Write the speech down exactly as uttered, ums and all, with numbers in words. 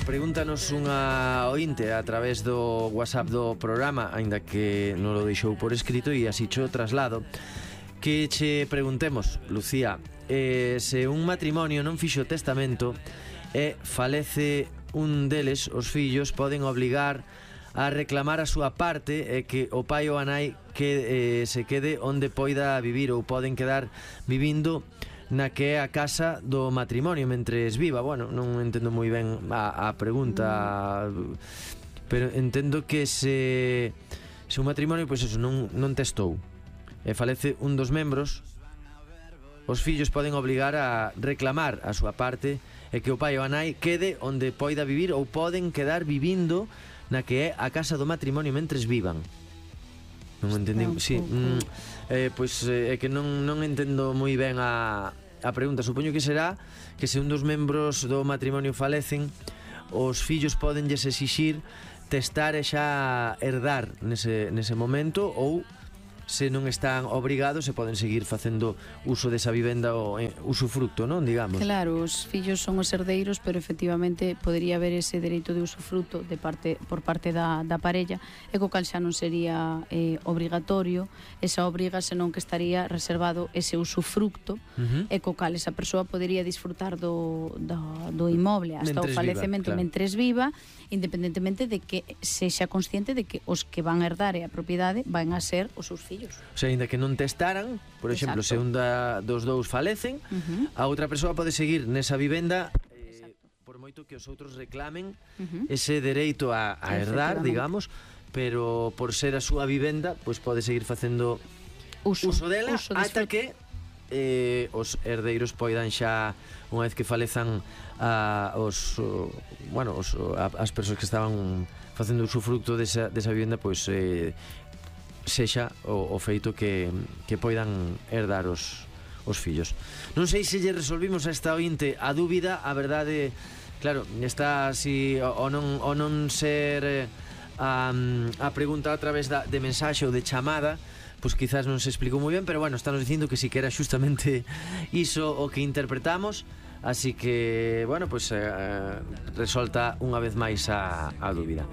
pregúntanos unha ointe a través do WhatsApp do programa, aínda que non lo deixou por escrito, e así cho traslado. Que che preguntemos, Lucía, eh, se un matrimonio non fixo testamento e falece un deles, os fillos poden obligar a reclamar a súa parte e que o pai ou a nai que eh, se quede onde poida vivir, ou poden quedar vivindo na que é a casa do matrimonio mentres viva. Bueno, non entendo moi ben a, a pregunta, pero entendo que se se un matrimonio, pois eso, non, non testou e falece un dos membros, os fillos poden obligar a reclamar a súa parte e que o pai ou a nai quede onde poida vivir, ou poden quedar vivindo na que é a casa do matrimonio mentres vivan. Non entendi, sí, mm, eh, pois é eh, que non, non entendo moi ben a, a pregunta. Supoño que será que se un dos membros do matrimonio falecen, os fillos podenlles exixir testar e xa herdar nese, nese momento, ou se non están obrigados se poden seguir facendo uso desa vivenda ou eh, usufructo, non, digamos. Claro, os fillos son os herdeiros, pero efectivamente podería haber ese dereito de usufructo de parte por parte da, da parella, e co cal xa non sería eh, obrigatorio esa obriga, senón que estaría reservado ese usufructo, uh-huh. e co cal esa persoa podería disfrutar do, do, do inmoble hasta mentres o falecemento viva, claro. mentres viva, independentemente de que sexa consciente de que os que van a herdar a propiedade van a ser os seus fillos. O sea, ainda que non testaran, por exemplo, Exacto. se un da, dos dous falecen, uh-huh. a outra persoa pode seguir nesa vivenda eh, por moito que os outros reclamen uh-huh. ese dereito a, a herdar, digamos, pero por ser a súa vivenda, pois pode seguir facendo uso, uso dela uso ata que eh, os herdeiros poidan xa, unha vez que falezan a, os, o, bueno, os, a, as persoas que estaban facendo usufructo desa, desa vivenda, pois eh, sexa o, o feito que, que poidan herdar os, os fillos. Non sei se lle resolvimos a esta ointe a dúbida. A verdade, claro, está así o, o, non, o non ser eh, a, a pregunta a través da, de mensaxe ou de chamada, pois quizás non se explicou moi ben, pero bueno, estamos dicindo que si que era justamente iso o que interpretamos, así que, bueno, pois eh, resolta unha vez máis a, a dúbida.